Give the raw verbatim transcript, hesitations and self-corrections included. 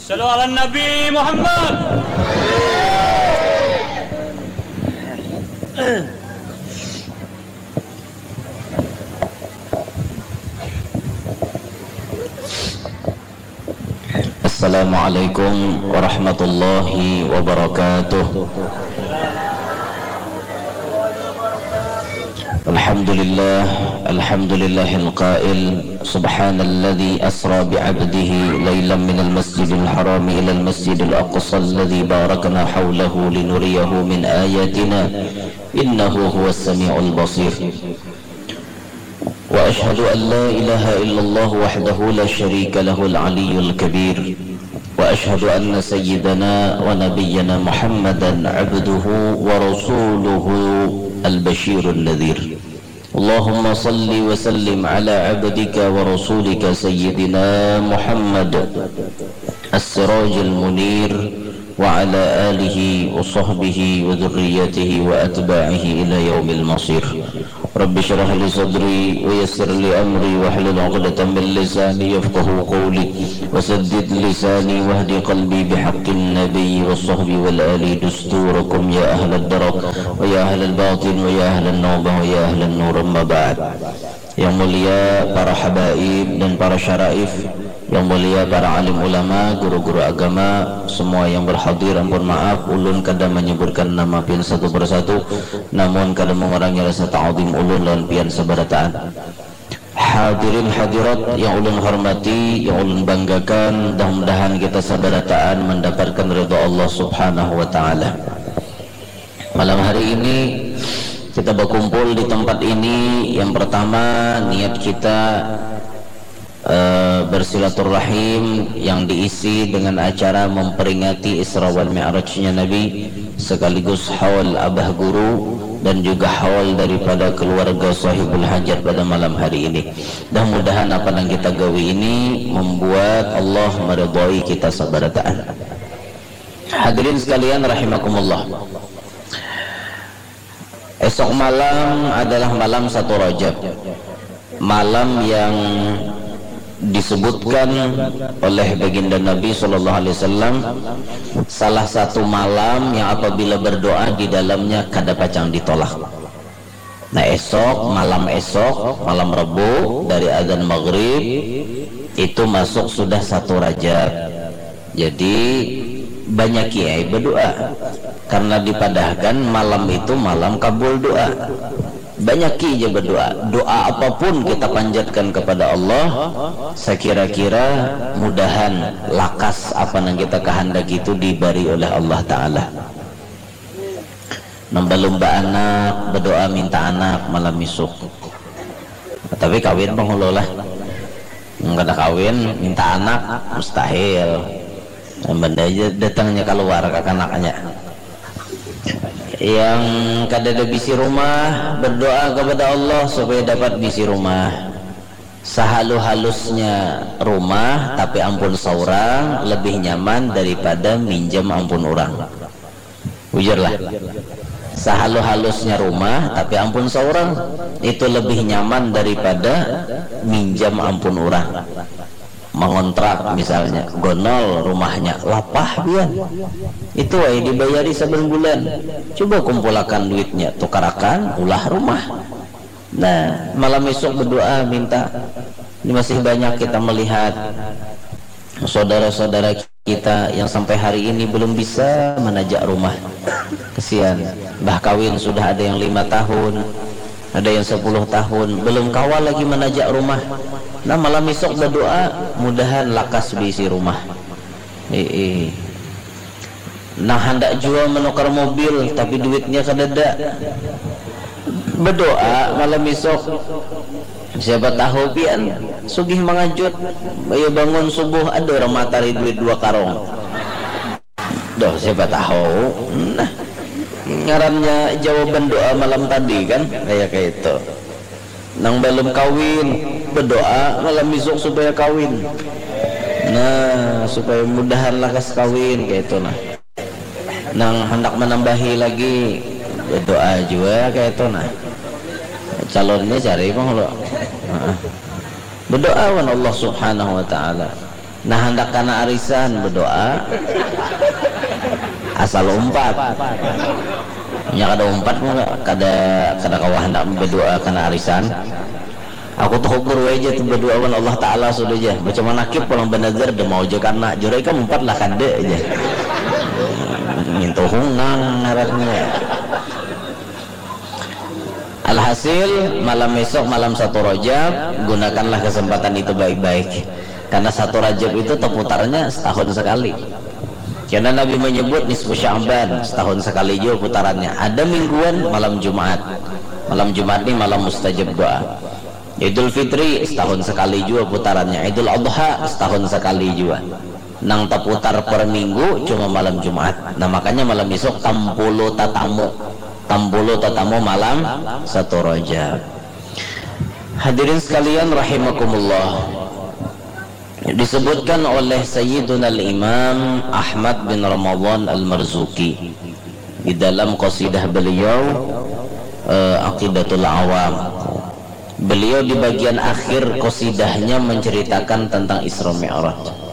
Sallu ala Nabi Muhammad. Assalamualaikum warahmatullahi wabarakatuh. Alhamdulillah, alhamdulillahil qail, subhanalladzi asra bi'abdihi lailam minal masjidil harami ilal masjidil aqsa alladzi barakna haulahu linuriyahu min ayatina, innahu huwas sami'ul basir. Wa asyhadu an la ilaha illallah wahdahu la syarika lahul aliyyul kabir. Wa asyhadu anna sayyidana wa nabiyyana Muhammadan abduhu wa rasuluhu al-basyirun nadhir. Allahumma salli wa sallim ala abdika wa rasulika sayyidina Muhammad as-sirajil munir wa ala alihi wa sahbihi wa dzurriyyatihi wa atba'ihi ila yaumil masir. Rabbi syrah li sadri wa yassir li amri wahlul 'uqdatam min lisani yafqahu qawli wa saddid lisani wahdi qalbi bihaqqin nabiyyi was sahbi wal ali dusturakum ya ahlad darak wa ya ahlal batin wa ya ahlan nurbah wa ya ahlan nur, amma ba'd. Yang mulia para habaib dan para syaraif, yang mulia para alim ulama, guru-guru agama, semua yang berhadir, ampun maaf, ulun kada menyebutkan nama pian satu persatu, namun kada mengurangi rasa ta'zim ulun lawan pian sabarataan. Hadirin hadirat yang ulun hormati, yang ulun banggakan, mudah-mudahan kita sabarataan mendapatkan ridha Allah Subhanahu wa Ta'ala. Malam hari ini kita berkumpul di tempat ini, yang pertama niat kita eh, bersilaturahim yang diisi dengan acara memperingati Isra wal Mi'rajnya Nabi, sekaligus haul Abah Guru dan juga haul daripada keluarga sahibul hajat pada malam hari ini. Mudah-mudahan apa yang kita gawi ini membuat Allah meridhai kita sabarataan. Hadirin sekalian rahimakumullah. Esok malam adalah malam satu Rajab. Malam yang disebutkan oleh baginda Nabi sallallahu alaihi wasallam, salah satu malam yang apabila berdoa di dalamnya kada pacang ditolak. Nah, esok, malam esok, malam Rebu dari adzan maghrib itu masuk sudah satu Rajab. Jadi, banyaki ai berdoa. Karena dipadahkan malam itu malam kabul doa. Banyaki aja berdoa. Doa apapun kita panjatkan kepada Allah, sekira-kira mudahan lakas apa yang kita kehendaki itu diberi oleh Allah Ta'ala. Nang balum baanak, berdoa minta anak malam isuk. Tapi kawin penghulu lah. Nang kada kawin, minta anak, mustahil. Benda aja datangnya keluar kakanaknya. Yang kada ada bisi rumah, berdoa kepada Allah supaya dapat bisi rumah. Sehalu-halusnya rumah, tapi ampun seorang, lebih nyaman daripada minjam ampun orang. Bujurlah. Sehalu-halusnya rumah, tapi ampun seorang, itu lebih nyaman daripada minjam ampun orang. Mengontrak misalnya, gonol rumahnya, lapah pian. Itu ai dibayari saban bulan. Coba kumpulakan duitnya, tukarakan, ulah rumah. Nah, malam isuk berdoa minta. Ini masih banyak kita melihat saudara-saudara kita yang sampai hari ini belum bisa menajak rumah. Kesian. Bah kawin sudah ada yang lima tahun, ada yang sepuluh tahun, belum kawa lagi menajak rumah. Nah, malam isuk berdoa, mudahan lakas beisi rumah. Ii. Nah, handak jua menukar mobil, tapi duitnya kadada. Berdoa malam isuk. Siapa tahu pian sugih mangajut. Ayo bangun subuh, ada orang matari duit dua karung. Doh, siapa tahu. Nah, ngarannya jawaban doa malam tadi kan, kayak kayak itu. Nang balum kawin, berdoa malam isuk supaya kawin. Nah, supaya mudahan lakas kawin, kayak itu nah. Nang handak menambahi lagi, berdoa juga kayak itu nah. Calonnya cari pang lo. Heeh. Berdoa wan Allah Subhanahu wa Ta'ala. Nah, handak kana arisan, berdoa asal umpat. Nya kada umpat, kada, kada kawa handak berdoa kana arisan. Aku tuh ukur aja tuh berdoa wan Allah Ta'ala sudah aja. Baca manakib pulang banazar, demau aja karena jurai kan umpat lah kada aja. Nyentuh hungang ngarannya. Alhasil, malam esok, malam satu Rajab, gunakanlah kesempatan itu baik-baik. Karena satu Rajab itu terputarnya setahun sekali. Karena Nabi menyebut nisfu Sya'ban, setahun sekali juga putarannya. Ada mingguan malam Jumat. Malam Jumat ni malam mustajab doa. Idul Fitri setahun sekali juga putarannya. Idul Adha setahun sekali juga. Nang terputar per minggu cuma malam Jumat. Nah, makanya malam esok tampulu tatamu. Tampulu tatamu malam satu Rajab. Hadirin sekalian rahimakumullah. Disebutkan oleh Sayyiduna Al-Imam Ahmad bin Ramadan Al-Marzuki di dalam qasidah beliau, eh, Aqidatul Awam. Beliau di bagian akhir qasidahnya menceritakan tentang Isra Mi'raj.